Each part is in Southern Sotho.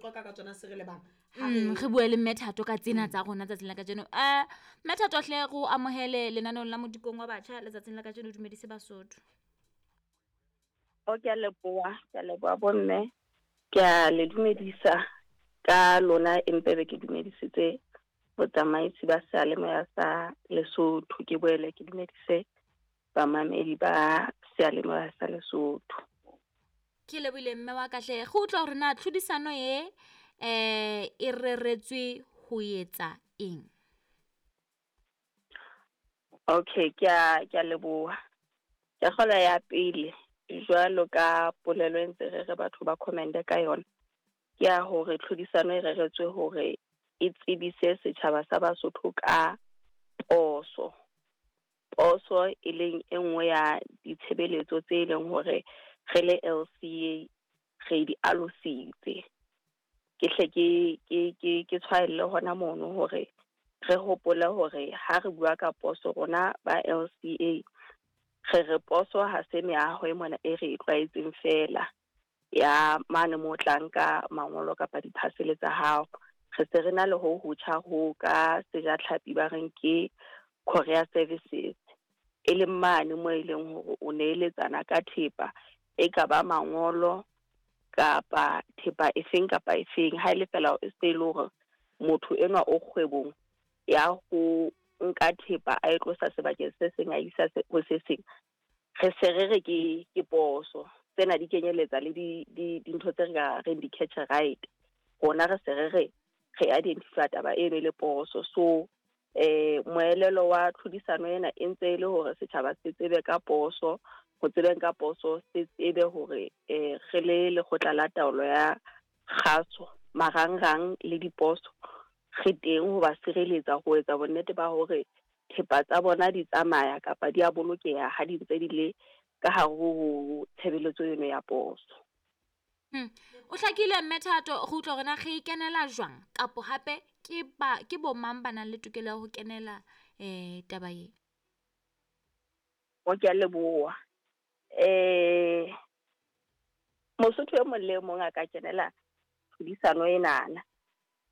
Qoqa ka tsona se re lebang. Re bue le Mme Thato ka tsena tsa rona tsatsing la kajeno. Mme Thato hle re o amohele lenaneong la Modikong wa Batjha letsatsing la kajeno, o dumedise Basotho. O, ke a leboha, ke a leboha bomme. Ke a le dumedisa ka lona, empe be ke dumedisitse botsamaisi ba seyalemoya sa Lesotho. Ke boele ke dumedise bamamedi ba seyalemoya sa Lesotho. Ke lebohile mme wa ka hle. Re utlwa hore na tlhodisano e e reretswe ho etsa eng? Okay, ke a ke a leboha. Ke kgola ya pele jwalo ka polelo e ntse re re batho ba comment ka yona. Ke ya hore tlhodisano e reretswe hore e tsebise setjhaba sa Basotho ka poso. Poso e leng e nngwe ya ditshebeletso tse leng hore re le LCA re di alositse. Ke hle ke tshwaelle hona mono hore re hopole hore ha re bua ka poso rona ba LCA re re poso ha se meaho e mona e re e tlwaetseng fela ya mane mo tlang ka mangolo kapa di-parcel tsa hao. Re se re na le ho hotjha ho ka sejatlhapi ba reng ke courier services, e leng mane mo e leng hore o neeletsana ka thepa e ka ba mangolo kapa thepa efeng kapa efeng, ha e le fela e se le hore motho enwa o kgwebong ya ho nka thepa a e tlosa sebakeng se seng a isa ho se seng, re se re re ke poso. Tsena di kenyeletsa le dintho tse re ka reng di-catch right. Rona re se re re re identify taba eno e le poso. So moelelo wa tlhodisano ena e ntse e le hore setjhaba se tsebe ka poso, ho tsebeng ka poso se tsebe hore re le lekgotla la taolo ya kgaso marangrang le diposo re teng ho ba sireletsa, ho etsa bonnete ba hore thepa tsa bona di tsamaya kapa di a bolokeha ha di ntse di le ka hare ho tshebeletso eno ya poso. O hlakile Mme Thato, re utlwa hore na re e kenela jwang kapo hape ke ba ke bo mang ba nang le tokelo ya ho kenela taba e? O, ke a leboha. Mosotho e mong le e mong a ka kenela tlhodisano enana.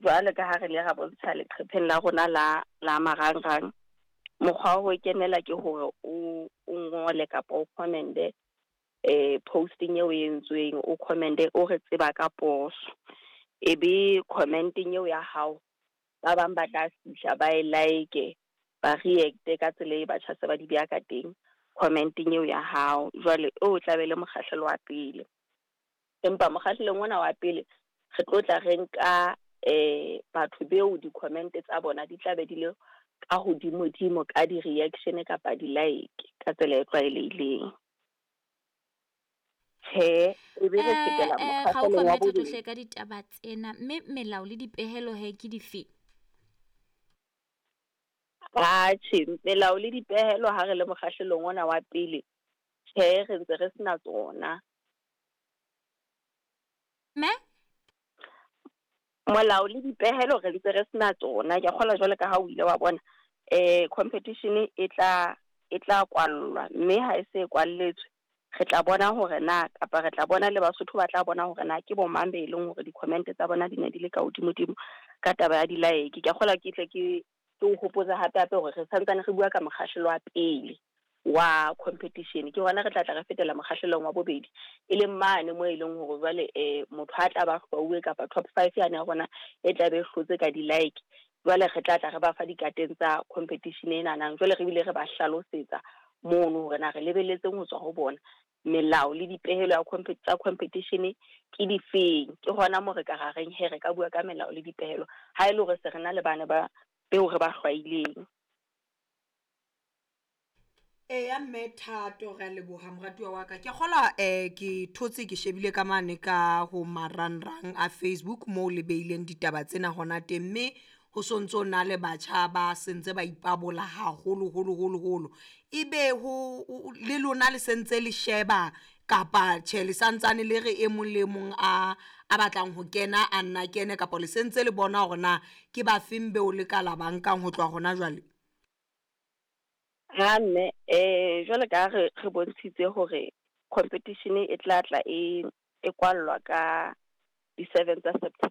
Jwalo ka ha re le ra bontsha leqhepheng la rona la marangrang, mokgwa wa ho kenela ke hore o ngole kapa o comment-e posting eo e entsweng, o comment-e o re tseba ka poso. Ebe comment-eng eo ya hao ba bang ba tla fihla ba e like, ba react-e ka tsela e batjha se ba di beha ka teng comment-eng eo ya hao. Jwale o tla be le mokgahlelo wa pele. Empa mokgahlelong ona wa pele re tlo tla re nka batho beo di-comment tsa bona di tla be di le ka hodimo-dimo ka di-reaction kapa di-like ka tsela e tlwaelehileng. Tjhe, e be re fetela Ga o mokgahlelong wa Mme Thato bobedi. hle ka ditaba tsena, mme melao le dipehelo he ke dife? Atjhe, melao le dipehelo ha re le mokgahlelong ona wa pele, tjhe, re ntse re sena tsona. Mme? Molao le dipehelo re ntse re sena tsona. Ke a kgolwa jwalo ka ha o ile wa bona, competition e tla kwallwa, mme ha e se e kwalletswe re tla bona hore na kapa re tla bona le Basotho ba tla bona hore na ke bo mang be e leng hore di-comment tsa bona di ne di le ka hodimo-dimo ka taba ya di-like. Ke a kgolwa ke tle ke o hopotse hape hape hore re santsane re bua ka mokgahlelo wa pele wa competition. Ke hona re tla tla re fetela mokgahlelong wa bobedi, e leng mane mo e leng hore jwale motho ha tla ba hlwauwe kapa top 5 yane ya rona e tla be e hlotse ka di-like. Jwale re tla tla re ba fa dikateng tsa competition e nanang. Jwale re bile re ba hlalosetsa mono hore na re lebelletseng ho tswa ho bona, melao le dipehelo ya tsa competition ke difeng. Ke hona mo re ka ra reng he re ka bua ka melao le dipehelo ha e le hore se re na le bana ba beo re ba hlwaileng. Eya Mme Thato, re a leboha moratuwa wa ka. Ke kgolwa ke thotse ke shebile ka mane ka ho marangrang a Facebook moo le beileng ditaba tsena hona teng, mme ho sontso na le batjha ba sentse ba ipabola haholo holo holo holo. Ebe ho le lona le sentse le sheba kapa tjhe le santsane le re e mong le mong a batlang ho kena a nna kene, kapa le sentse le bona hore na ke ba feng beo le ka la ba nkang ho tloha hona jwale? Ha mme, jwale ka re bontshitse hore competition e tla tla e kwallwa ka Di-7 tsa September.